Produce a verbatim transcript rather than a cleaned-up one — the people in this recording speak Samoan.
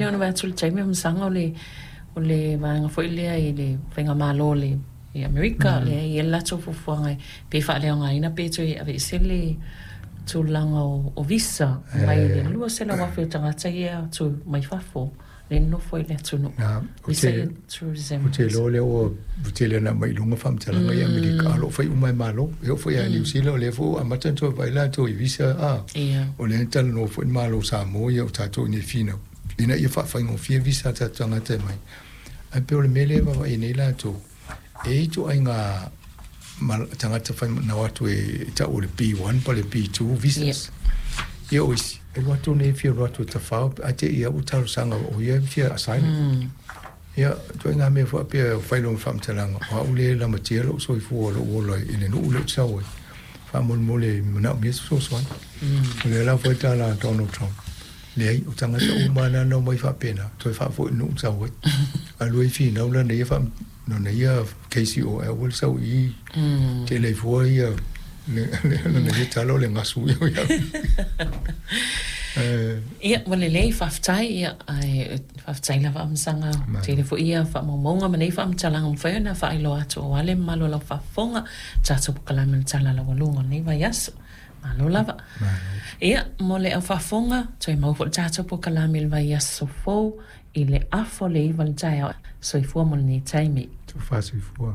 lea ona vaai atu i le taimi o masaga o le o le vaega foi lea i le faigamalo o le i Amerika, mm. lea e i ai le latou fuafuaga pe faaleaogaina pe toe aveese le tulaga o, o visa mai le lua selau afe o tagata ia atu mai fafo le nofo i le atunuu. Visa ia tourism. Ou te iloa lea ua tele ona aumai i luga faamatalaga i Amerika, a o lo o fai uma e Malo. E oo foi ia Niu Sila, o lea foi ua amata ona toe vaai latou i visa, a. O lea na talanoa foi le Malo o Samoa ia o tatou i nei finau, ina ia faafaigofie visa a tatou tagata e mai. Ae pei o le mea lea e vaavaai nei latou, e i ai ituaiga tagata fai na o atu e tau o le B one po o le B two visas. Ia o isi, e alu atu nei e fia alu atu e tafao, ae te i lava ua talosaga o ia e fia asylum. Ia, ituaiga mea faapea e fai lona faamatalaga, o au lea e lamatia lou soifua o lou ola i le nuu lea ou te sau ai, faamolemole e manaomia se fesoasoani. O lea la foi tala a Donald Trump, leai, o tagata uma lava na omai faapena, toe faafoi i le nuu na sau ai. Alu ai finau lana ia faa lona ia case i o, ae aua le sau i i, tele ai fua ia lana ia tala o le gasu ia o ia. Ia, ua lelei, faafetai, ia, ae faafetai lava Amasaga, tele foi ia faamaumauga ma nei faamatalaga ua mafai ona faailoa atu aua le mamalu o lau faafofoga, tatou polokalame o le Tala Laualuga o lenei vaiaso. Malo lava. Ia, mo le au faafofoga, toe maua foi le tatou polokalame i le vaiaso fou i le afa o le iva i le taeao. Soifua mo lenei taimi. Tofa soifua.